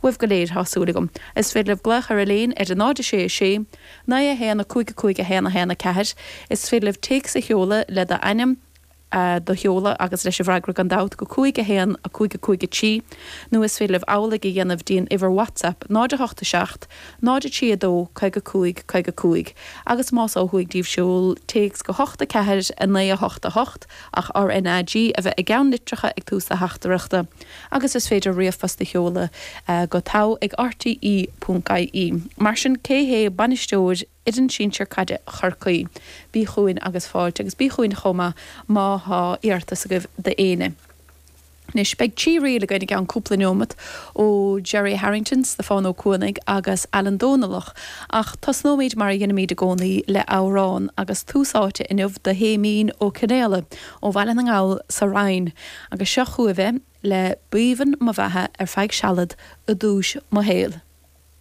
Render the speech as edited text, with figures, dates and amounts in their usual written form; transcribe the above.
Uaibh go léir, tá súil agam. Is féidir libh glaoch ar Elaine ar 0 6 6 9 1 5 5 1 1 4. Is féidir libh téacs a sheoladh le d'ainm, do sheoladh agus leis an bhfreagra gan dabht go 5 1 5 5 3 nó is féidir libh amhlaidh a dhéanamh dtí'n uimhir WhatsApp 0 8 7 0 3 2 55 55 agus más ó thuaidh díbh seol téacs go 8 4 9 8 8 ach RNAG a bheith i gceannlitreacha ag tús do theachtaireachta agus is féidir ríomhphost a sheoladh go togha ag rte.ie. Mar sin cé hé bainisteoir Fhoireann Sinsir Caide Chorcaí? Bí chugainn agus fáilte agus bí chugainn chomh maith má thá iarratas agaibh d'éinne. Anois, beidh 3 ríl againn i gceann cúpla neomat ó Gerry Harrington, Stiofán Ó Cuanaigh agus Alan Dónallach ach tosnóimid mar a dheinimid i gcónaí le amhrán agus tús áite inniu do Shéimín Ó Cionnaola ó Bhaile na nGall sa Rinn agus seo chugaibh é le B'aoibhinn mo bheatha ar feadh sealad i dtús mo shaoil.